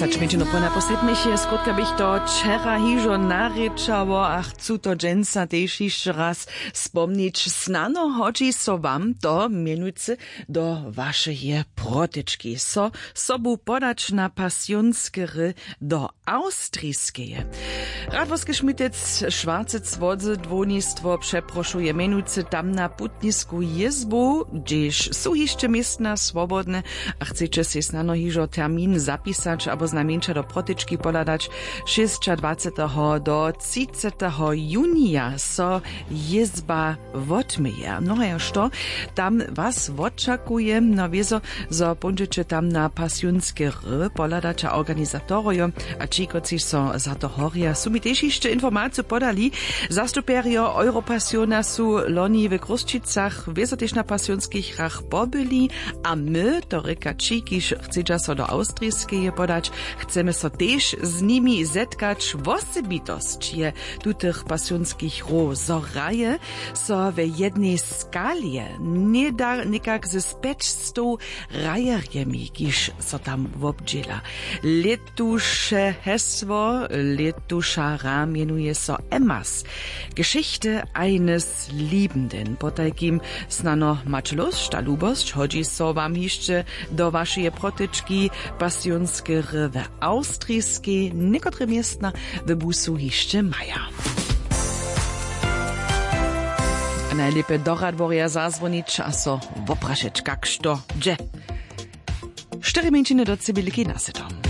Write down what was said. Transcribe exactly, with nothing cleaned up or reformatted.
Hač mjeńšinu po naposlednich je skrótka bych to wčera hižo narěčało a chcu to dźensa tež hišće raz spomnić. Snano hodźi so wam to mjenujcy do wašeje protyčki so sobu podać na pasionske hry do Awstriskeje. Radworske šmitec šwarcec wodzy dłonistwo přeprošuje mjenujcy tam na putnisku jězbu, hdźež su hišće městna swobodne a chceće sej snano hižo termin zapisać abo znajmjeńša do protyčki pohladać, šěsćadwaceteho do třiceteho junija so jězba wotměje. Nohajo što tam was wočakuje? No wězo, zo póńdźeće tam na pasionske hry pohladać a organizatorojo a ći kotřiž so za to horja su mi tež hišće informaciju podali. Zastupjerjo europasiona su loni w chrósćicach wězo tež na pasionskich hrach pobyli a my to rěka ći kiž chcedźa so do awstriskeje podać, chcemy so tež z nimi zetkać. Wosebitosć je tutych pasionskich hrow zo hraje so we jednej skalje něda někak ze spjećstow hrajerjemi kiž so tam wobdźěla. Lětuše hesło lětuša hra mjenuje so Emmas, Geschichte eines Liebenden. Potajkim snano maće lósć a lubosć hodźi so wam hišće do wašeje protyčki pasionske hry w awstriskej někotre městna w busu hišće maja. A najlěpje do radworja zazwonić a so woprašeć kak što dźe. Štyri mjeńšiny do cibilki nasytom.